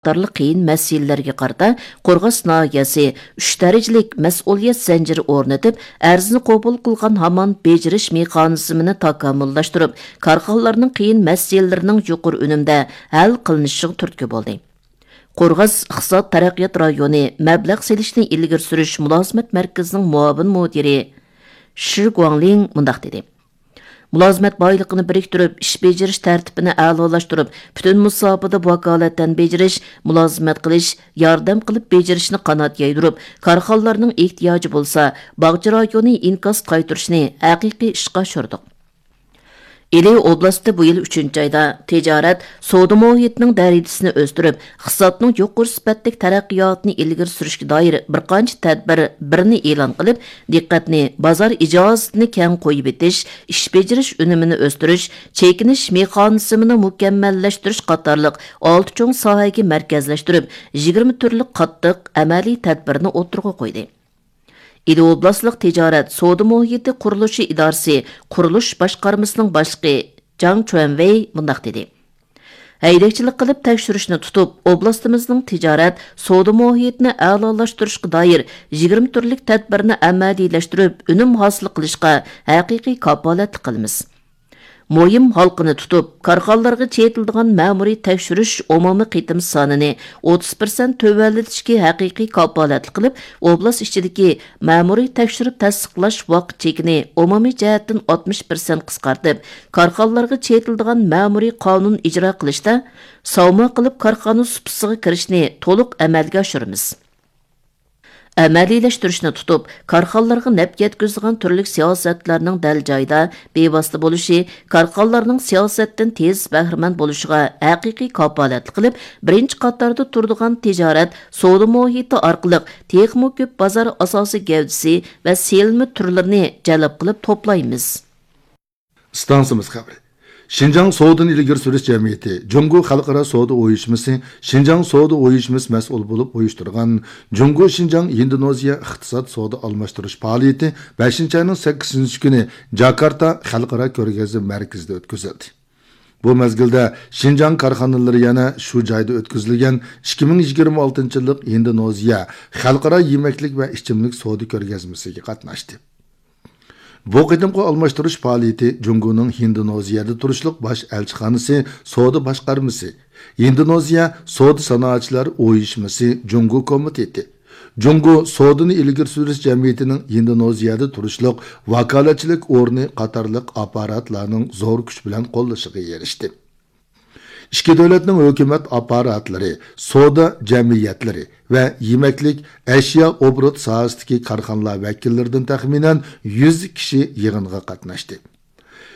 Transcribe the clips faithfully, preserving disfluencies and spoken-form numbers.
قاتارلىق قىيىن مەسىلىلەرگە قارىتا قورغاس ناھىيەسى ئۈچ دەرىجىلىك مەسئۇلىيەت زەنجىرى ئورنىتىپ، ئەرزنى قوبۇل قىلغان ھامان بېجىرىش مېخانىزمىنى تاكامۇللاشتۇرۇپ، كارخانىلارنىڭ قىيىن مەسىلىلىرىنىڭ يۇقىرى ئۈنۈمدە ھەل قىلىنىشىغا تۈرتكە بولدى. قورغاس ئىقتىساد تەرەققىيات رايونى مەبلەغ سېلىشنى ئىلگىرى سۈرۈش مۇلازىمەت مەركىزىنىڭ مۇئاۋىن مۇدىرى شى گۇاڭلىڭ مۇنداق دېدى: مۇلازىمەت بايلىقىنى بىرىكتۈرۈپ، ئىش بېجىرىش تەرتىپىنى ئەلالاشتۇرۇپ، پۈتۈن مۇساپىدە ۋاكالىتەن بېجىرىش، مۇلازىمەت قىلىش، ياردەم قىلىپ بېجىرىشنى قانات يايدۇرۇپ، كارخانىلارنىڭ ئېھتىياجى بولسا، باغچە رايونى ئىنكاس قايتۇرۇشنى ھەقىقىي ئىشقا ئاشۇردۇق. ئىلى ئوبلاستى بۇ يىل ئۈچىنچى ئايدا تىجارەت، سودا مۇھىتىنىڭ دەرىجىسىنى ئۆستۈرۈپ، ئىقتىسادنىڭ يۇقىرى سۈپەتلىك تەرەققىياتىنى ئىلگىرى سۈرۈشكە دائىر بىر قانچە تەدبىر بىرنى ئېلان قىلىپ، دىققەتنى بازار ئىجازىتىنى كەڭ قويۇۋېتىش، ئىش بېجىرىش ئۈنۈمىنى ئۆستۈرۈش، چېكىنىش مېخانىزمىنى مۇكەممەللەشتۈرۈش قاتارلىق ئالتە چوڭ ساھەگە مەركەزلەشتۈرۈپ، يىگىرمە تۈرلۈك قاتتىق ئەمەلىي تەدبىرنى ئوتتۇرىغا قويدى. ئىلى ئوبلاستلىق تىجارەت، سودا مۇھىتى قۇرۇلۇشى ئىدارىسى قۇرۇلۇش باشقارمىسىنىڭ باشلىقى جاڭ چۈەنۋېي مۇنداق دېدى: ھەيدەكچىلىك قىلىپ تەكشۈرۈشنى تۇتۇپ، ئوبلاستىمىزنىڭ تىجارەت، سودا مۇھىتىنى ئەلالاشتۇرۇشقا دائىر يىگىرمە تۈرلۈك تەدبىرنى ئەمەلىيلەشتۈرۈپ، ئۈنۈم ھاسىل قىلىشقا ھەقىقىي كاپالەتلىك قىلىمىز. مۇھىم ھالقىنى تۇتۇپ، كارخانىلارغا چېتىلىدىغان مەمۇرىي تەكشۈرۈش ئومۇمىي قېتىم سانىنى ئوتتۇز پىرسەنت تۆۋەنلىتىشكە ھەقىقىي كاپالەتلىك قىلىپ، ئوبلاست ئىچىدىكى مەمۇرىي تەكشۈرۈپ تەستىقلاش ۋاقىت چېكىنى ئومۇمىي جەھەتتىن ئاتمىش پىرسەنت قىسقارتىپ، كارخانىلارغا چېتىلىدىغان مەمۇرىي قانۇن ئىجرا قىلىشتا ساۋما قىلىپ كارخانا سۇپىسىغا كىرىشنى تولۇق ئەمەلگە ئاشۇرىمىز. ئەمەلىيلەشتۈرۈشنى تۇتۇپ، كارخانىلارغا نەپ يەتكۈزىدىغان تۈرلۈك سىياسەتلەرنىڭ دەل جايىدا، بىۋاسىتە بولۇشى، كارخانىلارنىڭ سىياسەتتىن تېز بەھرىمەن بولۇشىغا ھەقىقىي كاپالەتلىك قىلىپ، بىرىنچى قاتاردا تۇرىدىغان تىجارەت، سودا مۇھىتى ئارقىلىق تېخىمۇ كۆپ بازار ئاساسىي گەۋدىسى ۋە سېلىنما تۈرلىرىنى جەلپ قىلىپ توپلايمىز. ئىستانسىمىز خەۋىرى. شىنجاڭ سودىنى ئىلگىرى سۈرۈش جەمئىيىتى، جۇڭگو خەلقئارا سودا ئۇيۇشمىسى، شىنجاڭ سودا ئۇيۇشمىسى مەسئۇل بولۇپ ئۇيۇشتۇرغان جۇڭگو شىنجاڭ ئىندونېزىيە ئىقتىساد سودا ئالماشتۇرۇش پائالىيىتى بەشىنچى ئاينىڭ سەككىزىنچى كۈنى جاكارتا خەلقئارا كۆرگەزمە مەركىزىدە ئۆتكۈزۈلدى. بۇ مەزگىلدە شىنجاڭ كارخانىلىرى يەنە شۇ جايدا ئۆتكۈزۈلگەن ئىككى مىڭ يىگىرمە ئالتىنچى يىللىق ئىندونېزىيە خەلقئارا يېمەكلىك ۋە ئىچىملىك سودا كۆرگەزمىسىگە قاتناشتى. بۇ قېتىمقى ئالماشتۇرۇش پائالىيىتى جۇڭگونىڭ ھىندونېزىيەدە تۇرۇشلۇق باش ئەلچىخانىسى، سودا باشقارمىسى، ھىندونېزىيە سودا سانائەتچىلەر ئۇيۇشمىسى جۇڭگو كومىتېتى، جۇڭگو سودىنى ئىلگىرى سۈرۈش جەمئىيىتىنىڭ ھىندونېزىيەدە تۇرۇشلۇق ۋاكالەتچىلىك ئورنى قاتارلىق ئاپپاراتلارنىڭ زور كۈچ بىلەن قوللىشىغا ئېرىشتى. ئىككى دۆلەتنىڭ ھۆكۈمەت ئاپپاراتلىرى سودا جەمئىيەتلىرى ۋە يېمەكلىك، ئەشيا ئوبوروت ساھەسىدىكى كارخانىلار ۋەكىللىرىدىن تەخمىنەن يۈز كىشى يىغىنغا قاتناشتى.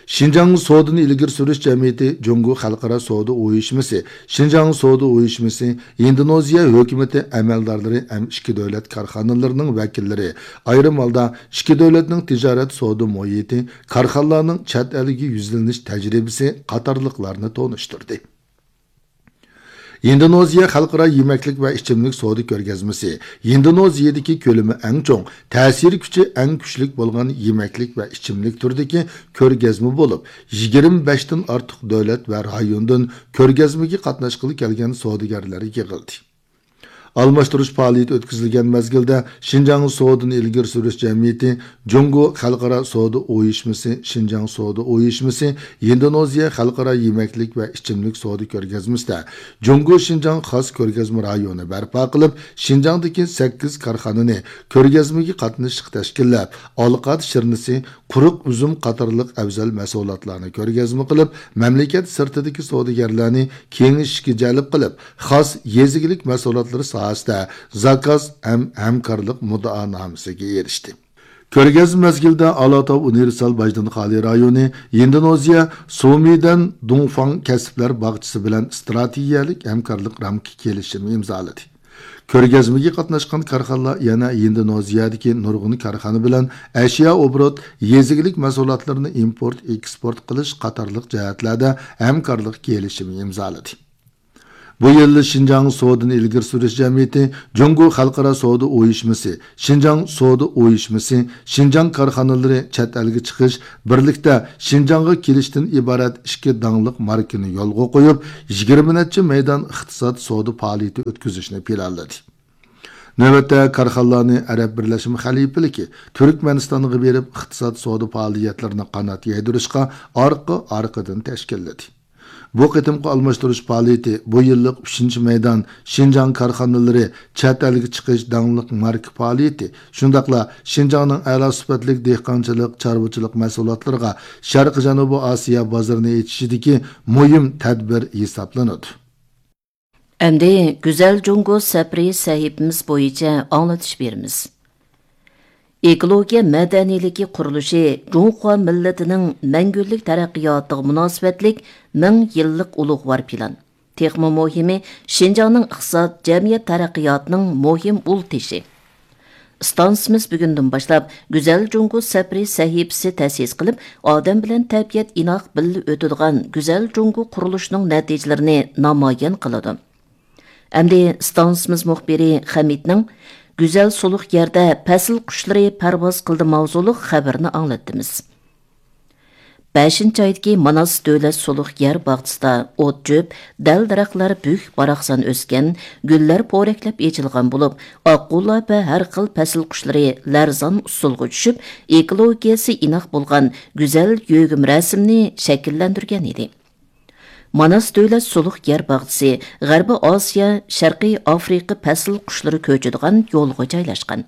شىنجاڭ سودىنى ئىلگىرى سۈرۈش جەمئىيىتى، جۇڭگو خەلقئارا سودا ئۇيۇشمىسى، شىنجاڭ سودا ئۇيۇشمىسى، ئىندونېزىيە ھۆكۈمىتى ئەمەلدارلىرى ھەم ئىككى دۆلەت كارخانىلىرىنىڭ ۋەكىللىرى، ئايرىم ھالدا ئىككى دۆلەتنىڭ تىجارەت سودا مۇھىتى، كارخانىلارنىڭ چەت ئەلگە يۈزلىنىش تەجرىبىسى قاتارلىقلارنى تونۇشتۇردى. ئىندونېزىيە خەلقئارا يېمەكلىك ۋە ئىچىملىك سودا كۆرگەزمىسى ئىندونېزىيەدىكى كۆلىمى ئەڭ چوڭ، تەسىر كۈچى ئەڭ كۈچلۈك بولغان يېمەكلىك ۋە ئىچىملىك تۈرىدىكى كۆرگەزمە بولۇپ، يىگىرمە بەشتىن ئارتۇق دۆلەت ۋە رايوندىن كۆرگەزمىگە قاتناشقىلى كەلگەن سودىگەرلەر يىغىلدى. ئالماشتۇرۇش پائالىيىتى ئۆتكۈزۈلگەن مەزگىلدە، شىنجاڭ سودىنى ئىلگىرى سۈرۈش جەمئىيىتى، جۇڭگو خەلقئارا سودا ئۇيۇشمىسى، شىنجاڭ سودا ئۇيۇشمىسى، ھىندونېزىيە خەلقئارا يېمەكلىك ۋە ئىچىملىك سودا كۆرگەزمىسىدە جۇڭگو شىنجاڭ خاس كۆرگەزمە رايونى بەرپا قىلىپ، شىنجاڭدىكى سەككىز كارخانىنى كۆرگەزمىگە قاتنىشىشقا تەشكىللەپ، ئالقات شىرنىسى، قۇرۇق ئۈزۈم قاتارلىق ئەۋزەل مەھسۇلاتلارنى كۆرگەزمە قىلىپ، مەملىكەت سىرتىدىكى سودىگەرلەرنى كېڭىشىشكە جەلپ قىلىپ، خاس يېزا ئىگىلىك مەھسۇلاتلىرى ساھەسىدە زاكاز ھەم ھەمكارلىق مۇددىئانامىسىگە ئېرىشتى. كۆرگەزمە مەزگىلىدە ئالاتاۋ ئۇنىۋېرسال باجدىن خالىي رايونى ھىندونېزىيە سۇمىدەن دۇڭفاڭ كەسىپلەر باغچىسى بىلەن ئىستراتېگىيەلىك ھەمكارلىق رامكا كېلىشىمى ئىمزالىدى. كۆرگەزمىگە قاتناشقان كارخانىلار يەنە ھىندونېزىيەدىكى نۇرغۇن كارخانا بىلەن ئەشيا ئوبوروت، يېزا ئىگىلىك مەھسۇلاتلىرىنى ئىمپورت، ئېكسپورت قىلىش قاتارلىق جەھەتلەردە ھەمكارلىق كېلىشىمى ئىمزالىدى. بۇ يىل شىنجاڭ سودىنى ئىلگىرى سۈرۈش جەمئىيىتى، جۇڭگو خەلقئارا سودا ئۇيۇشمىسى، شىنجاڭ سودا ئۇيۇشمىسى، شىنجاڭ كارخانىلىرى چەت ئەلگە چىقىش، بىرلىكتە شىنجاڭغا كېلىشتىن ئىبارەت ئىككى داڭلىق ماركىنى يولغا قويۇپ، يىگىرمە نەچچە مەيدان ئىقتىساد سودا پائالىيىتى ئۆتكۈزۈشنى پىلانلىدى. نۆۋەتتە كارخانىلارنى ئەرەب بىرلەشمە خەلىپىلىكى تۈركمەنىستانغا بېرىپ، ئىقتىساد سودا پائالىيەتلىرىنى قانات يايدۇرۇشقا ئارقا-ئارقىدىن تەشكىللىدى. بۇ قېتىمقى ئالماشتۇرۇش پائالىيىتى بۇ يىللىق ئۈچىنچى مەيدان شىنجاڭ كارخانىلىرى چەت ئەلگە چىقىش داڭلىق ماركا پائالىيىتى، شۇنداقلا شىنجاڭنىڭ ئەلا سۈپەتلىك دېھقانچىلىق، چارۋىچىلىق مەھسۇلاتلىرىغا شەرقىي جەنۇبىي ئاسىيا بازىرىنى ئېچىشىدىكى مۇھىم تەدبىر ھېسابلىنىدۇ. ئەمدى گۈزەل جۇڭگو سەپىرى سەھىپىمىز بويىچە ئاڭلىتىش بېرىمىز. ئېكولوگىيە مەدەنىيلىكى قۇرۇلۇشى جۇڭخۇا مىللىتىنىڭ مەڭگۈلۈك تەرەققىياتىغا مۇناسىۋەتلىك مىڭ يىللىق ئۇلۇغۋار پىلان. تېخىمۇ مۇھىمى، شىنجاڭنىڭ ئىقتىساد، جەمئىيەت تەرەققىياتىنىڭ مۇھىم ئۇل تېشى. ئىستانسىمىز بۈگۈندىن باشلاپ گۈزەل جۇڭگو سەپىرى سەھىپىسى تەسىس قىلىپ، ئادەم بىلەن تەبىئەت ئىناق بىللە ئۆتىدىغان گۈزەل جۇڭگو قۇرۇلۇشىنىڭ نەتىجىلىرىنى نامايان قىلىدۇ. ئەمدى ئىستانسىمىز مۇخبىرى خەمىتنىڭ گۈزەل سۇلۇق يەردە پەسىل قۇشلىرى پەرۋاز قىلدى ماۋزۇلۇق خەۋىرىنى ئاڭلاتتىمىز. بەشىنچى ئايدىكى ماناس دۆلەت سۇلۇق يەر باغچىسىدا ئوت-چۆپ، دەل-دەرەخلەر بۈك-باراقسان ئۆسكەن، گۈللەر پورەكلەپ ئېچىلغان بولۇپ، ئاققۇلار ۋە ھەر خىل پەسىل قۇشلىرى لەرزان ئۇسسۇلغا چۈشۈپ، ئېكولوگىيەسى ئىناق بولغان گۈزەل يۆگىمە رەسىمنى شەكىللەندۈرگەن ئىدى. ماناس دۆلەت سۇلۇق يەر باغچىسى غەربىي ئاسىيا، شەرقىي ئافرىقا پەسىل قۇشلىرى كۆچىدىغان يولغا جايلاشقان.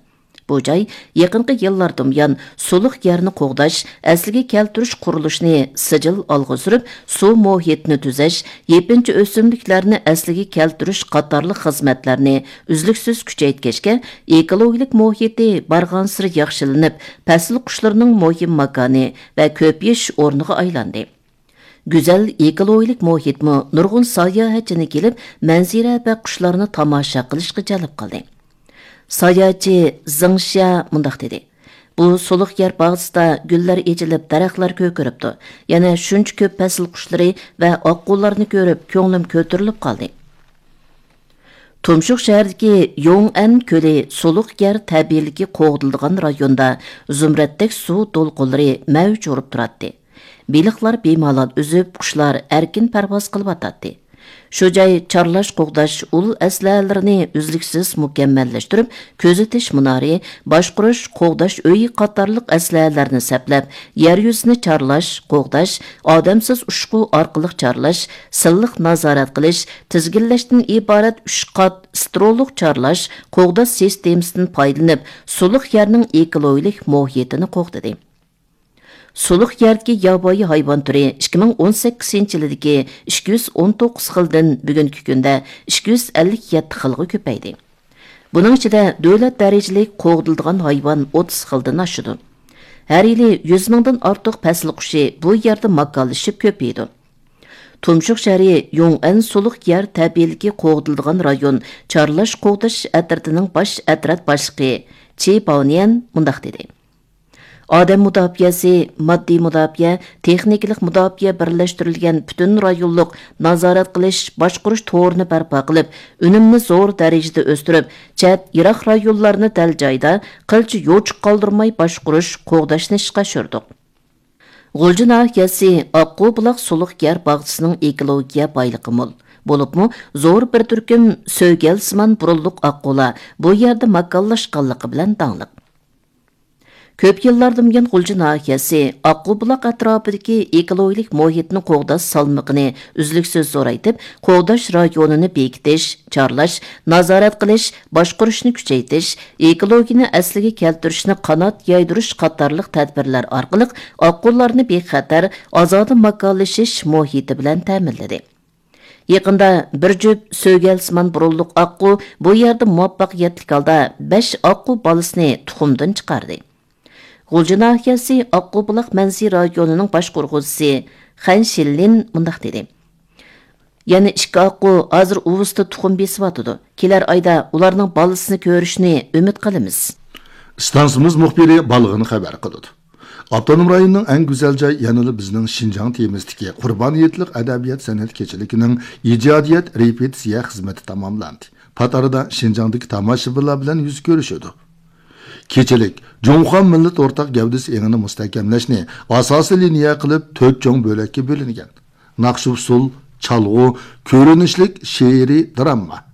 بۇ جاي يېقىنقى يىللاردىن بۇيان سۇلۇق يەرنى قوغداش، ئەسلىگە كەلتۈرۈش قۇرۇلۇشىنى سىجىل ئالغا سۈرۈپ، سۇ مۇھىتىنى تۈزەش، يېپىنچا ئۆسۈملۈكلەرنى ئەسلىگە كەلتۈرۈش قاتارلىق خىزمەتلەرنى ئۈزلۈكسىز كۈچەيتكەچكە، ئېكولوگىيەلىك مۇھىتى بارغانسېرى ياخشىلىنىپ، پەسىل قۇشلىرىنىڭ مۇھىم ماكانى ۋە كۆپىيىش ئورنىغا ئايلاندى. گۈزەل ئېكولوگىيەلىك مۇھىتمۇ نۇرغۇن ساياھەتچىنى كېلىپ، مەنزىرە ۋە قۇشلارنى تاماشا قىلىشقا جەلپ قىلدى. ساياھەتچى زېڭ شيا مۇنداق دېدى: «بۇ سۇلۇق يەر باغچىسىدا گۈللەر ئېچىلىپ، دەرەخلەر كۆكىرىپتۇ. يەنە شۇنچە كۆپ پەسىل قۇشلىرى ۋە ئاققۇلارنى كۆرۈپ، كۆڭلۈم كۆتۈرۈلۈپ قالدى.» تۇمشۇق شەھىرىدىكى يوڭئەن كۆلى سۇلۇق يەر تەبىئىيلىكى قوغدىلىدىغان رايوندا زۇمرەتتەك سۇ دولقۇنلىرى مەۋج ئۇرۇپ تۇراتتى. بېلىقلار بىمالال ئۈزۈپ، قۇشلار ئەركىن پەرۋاز قىلىۋاتاتتى. شۇ جاي چارلاش، قوغداش ئۇل ئەسلىھەلىرىنى ئۈزلۈكسىز مۇكەممەللەشتۈرۈپ، كۆزىتىش مۇنارى، باشقۇرۇش، قوغداش ئۆيى قاتارلىق ئەسلىھەلەرنى سەپلەپ، يەر يۈزىنى چارلاش، قوغداش، ئادەمسىز ئۇچقۇ ئارقىلىق چارلاش، سىنلىق نازارەت قىلىش، تىزگىنلەشتىن ئىبارەت ئۈچ قات ستېرېئولۇق چارلاش، قوغداش سىستېمىسىدىن پايدىلىنىپ، سۇلۇق يەرنىڭ ئېكولوگىيەلىك مۇھىتىنى قوغدىدى. سۇلۇق يەردىكى ياۋايى ھايۋان تۈرى ئىككى مىڭ ئون سەككىزىنچى يىلىدىكى ئىككى يۈز ئون توققۇز خىلدىن بۈگۈنكى كۈندە ئىككى يۈز ئەللىك يەتتە خىلغا كۆپەيدى. بۇنىڭ ئىچىدە دۆلەت دەرىجىلىك قوغدىلىدىغان ھايۋان ئوتتۇز خىلدىن ئاشىدۇ. ھەر يىلى يۈز مىڭدىن ئارتۇق پەسىل قۇشى بۇ يەردە ماكانلىشىپ كۆپىيىدۇ. تۇمشۇق شەھىرى يوڭئەن سۇلۇق يەر تەبىئىيلىكى قوغدىلىدىغان رايون چارلاش قوغداش ئەترىتىنىڭ باش ئەترەت باشلىقى چى باۋنيەن مۇنداق دېدى: «ئادەم مۇداپىئەسى، ماددىي مۇداپىئە، تېخنىكىلىق مۇداپىئە بىرلەشتۈرۈلگەن پۈتۈن رايونلۇق نازارەت قىلىش، باشقۇرۇش تورىنى بەرپا قىلىپ، ئۈنۈمنى زور دەرىجىدە ئۆستۈرۈپ، چەت، يىراق رايونلارنى دەل جايدا قىلچە يوچۇق قالدۇرماي باشقۇرۇش، قوغداشنى ئىشقا ئاشۇردۇق.» غۇلجا ناھىيەسى ئاققۇ بۇلاق سۇلۇق يەر باغچىسىنىڭ ئېكولوگىيە بايلىقى مول، بولۇپمۇ زور بىر تۈركۈم سۆگەلسىمان بۇرۇنلۇق ئاققۇلار بۇ يەردە ماكانلاشقانلىقى بىلەن داڭلىق. كۆپ يىللاردىن بۇيان غۇلجا ناھىيەسى ئاققۇ بۇلاق ئەتراپىدىكى ئېكولوگىيەلىك مۇھىتنى قوغداش سالمىقىنى ئۈزلۈكسىز زورايتىپ، قوغداش رايونىنى بېكىتىش، چارلاش، نازارەت قىلىش، باشقۇرۇشنى كۈچەيتىش، ئېكولوگىيەنى ئەسلىگە كەلتۈرۈشنى قانات يايدۇرۇش قاتارلىق تەدبىرلەر ئارقىلىق ئاققۇلارنى بىخەتەر، ئازادە ماكانلىشىش مۇھىتى بىلەن تەمىنلىدى. يېقىندا بىر جۈپ سۆگەلسىمان بۇرۇنلۇق ئاققۇ بۇ يەردە مۇۋەپپەقىيەتلىك ھالدا بەش ئاققۇ بالىسىنى تۇخۇمدىن چىقاردى. غۇلجا ناھىيەسى ئاققۇ بۇلاق مەنزىرە رايونىنىڭ باشقۇرغۇچىسى خەن شىنلىن مۇنداق دېدى: «يەنە ئىككى ئاققۇ ھازىر ئۇۋىسىدا تۇخۇم بېسىۋاتىدۇ. كېلەر ئايدا ئۇلارنىڭ بالىسىنى كۆرۈشنى ئۈمىد قىلىمىز.» ئىستانسىمىز مۇخبىرى بالغىن خەۋەر قىلىدۇ. ئاپتونوم رايوننىڭ ئەڭ گۈزەل جاي يەنىلا بىزنىڭ شىنجاڭ تېمىسىدىكى قۇربان ھېيتلىق ئەدەبىيات سەنئەت كېچىلىكىنىڭ ئىجادىيەت رېپېتىتسىيە خىزمىتى تاماملاندى. پات ئارىدا شىنجاڭدىكى تاماشىبىنلار بىلەن يۈز كۆرۈشىدۇ. كېچىلىك جۇڭخۇا مىللەت ئورتاق گەۋدىسى ئېڭىنى مۇستەھكەملەشنى ئاساسىي لىنىيە قىلىپ تۆت چوڭ بۆلەككە بۆلۈنگەن. ناخشا ئۇسسۇل، چالغۇ، كۆرۈنۈشلۈك شېئىرىي دىراما،